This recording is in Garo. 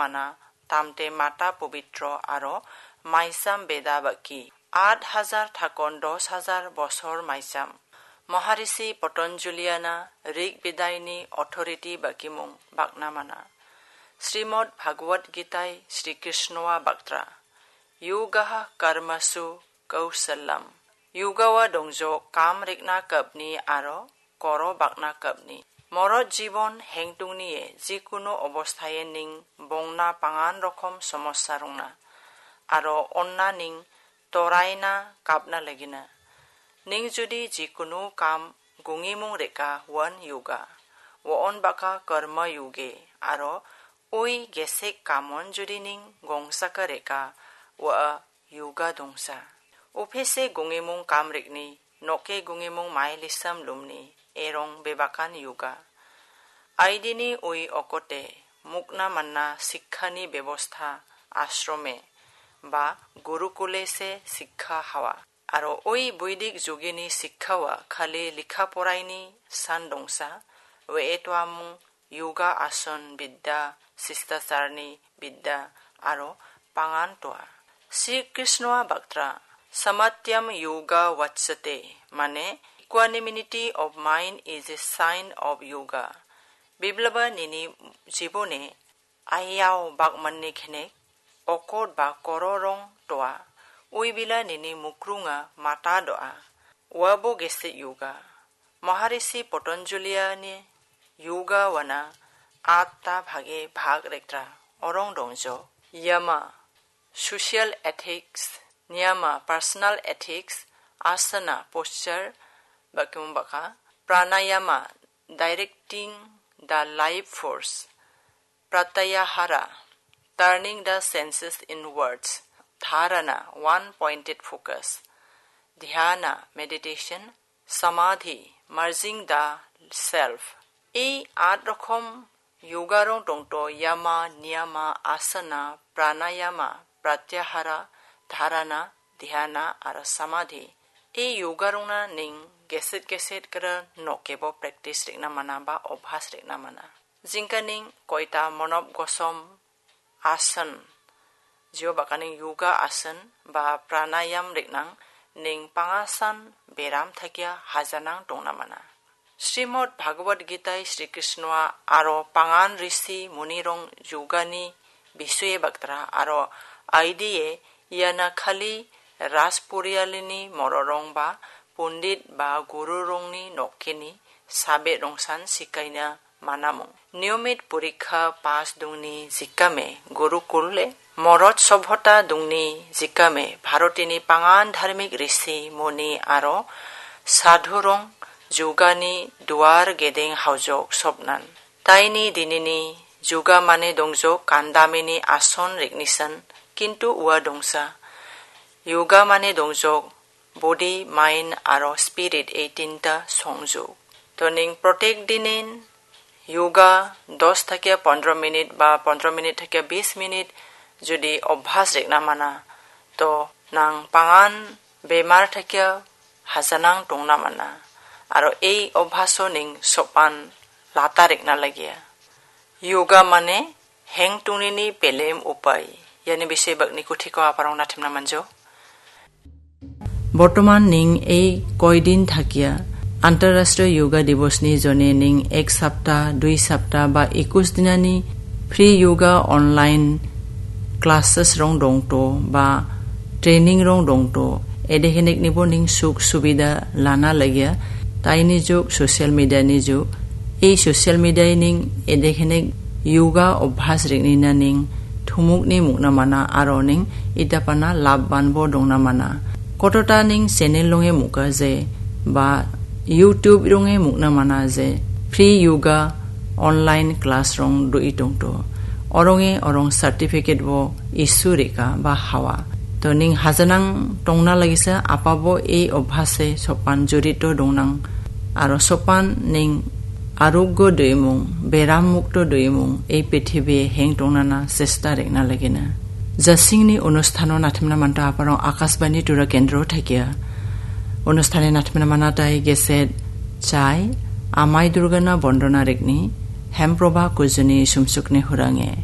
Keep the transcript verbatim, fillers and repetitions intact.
mana tamte mata pobitro aro maisam beda baki. At hajar thakon dos hajar bosor maisam. Maharishi Patanjaliana Rig Bedaini authority bakimung bakna mana. Srimad Bhagavad Gitai Sri Krishnoa baktra. Yogaha karmasu kausalam. Yogawa dongjo kam rikna kapni aro koro bakna kapni. Morot jibon hengtungnie jikuno obostaye ning bongna pangan rokom somossa rongna. Aro onna ning toraina kapna lagina. Ning judi jikuno kam gungimung reka wan yoga. Waon baka karma yoge. Aro ui gesek kamon judi ning gongsaka reka wa yoga dongsa. Ophese gungimung kamrikni, noke gungimung mailisam lumni, erong bebakan yoga. Aidini ui okote, mukna manna sikhani bebostha ashrome, ba gurukule se sikha hawa. Aro ui buidik jugini sikhawa khali likha poraini san dongsa, we etuamung yoga ason bidda, sistacharni bidda, aro pangan toa. Sri Krishnoa baktra, samatyam yoga vatsate, mane equanimity of mind is a sign of yoga. Biblaba nini jibone ayao bakmanni khenek, okot ba kororong toa, uibila nini mukrunga mata doa, wabo gesek yoga. Maharishi Patanjaliani yoga wana atta bhage bhag rektra orong dongjo. Yama, social ethics, niyama, personal ethics, asana, posture, bakimung baka, pranayama, directing the life force, pratyahara, turning the senses inwards, dharana, one pointed focus, dhyana, meditation, samadhi, merging the self. Ei at rokom yoga rong dongto yama, niyama, asana, pranayama, pratyahara, dharana, dhyana, aro samadhi. Ei yoga rongna ning geset geset kera nokebo practice rikna mana ba obhas rikna mana. Jingkaning koita monob gosom asan, jio bakaning yoga asan ba pranayam riknang ning pangasan beram thakia hajanang tongna mana. Srimad Bhagavad Gita Sri Krishna aro pangan risi munirong yogani bisue baktra aro aidie iana khali Rajpurialini mororong ba pundit ba gururongni nokkeni sabe rongsan sikaina manamung. Niyomit porikha pas dongni jikame gurukule morot sobhota dongni jikame Bharotini pangan dharmik risi muni aro sadhurong jugani duar gedeng haujok sobnan. Taini dinini juga mane dongjok kandamini ason riknisan, kintu ua dongsa. Yoga mane dongjok body, mind aro spirit ei tinta songjok. To ning protek dinin yoga dos thakia pondro minit ba pondro minit thakia bis minit jodi obhas rikna mana, to nang pangan bemar thakia hajanang tongna mana. Aro ei obhaso ning sopan lata rikna lagia. Yoga mane heng tungnini belem upai. Iani bisoi bakni kuthiko aparong nathemna manjo. Bortoman ning ei koidin thakia Antarrashtriya Yoga Divosni jone ning ek sapta, dui sapta ba ekus dinani free yoga online classes rong dongto ba training rong dongto, edehenek nibo ning suk subida lana lagia. Taini juk social media ni juk, ei social media ning edehenek yoga obhas ringnina ning thumukni mukna mana aro ning itapana labban bo dongna mana. Kotota ning channel longe muka je ba YouTube ronge mukna mana je free yoga online class rong do itongto. Oronge orong certificate bo issue rika ba hawa. To ning hajanang tongna lagisa apabo ei obhase sopan jurito dongnang. Aro sopan ning aroggo doimung, beram mukto doimung, ei prithibi heng tongnana chesta rikna lagina. Jasingni onusthano nathemna manta aparong Akashbani Tura Kendro thakia. Onusthani nathemna manatai geset chai, Amai Durgana bondona rikni, Hemproba Kujuni sumsukni hurange.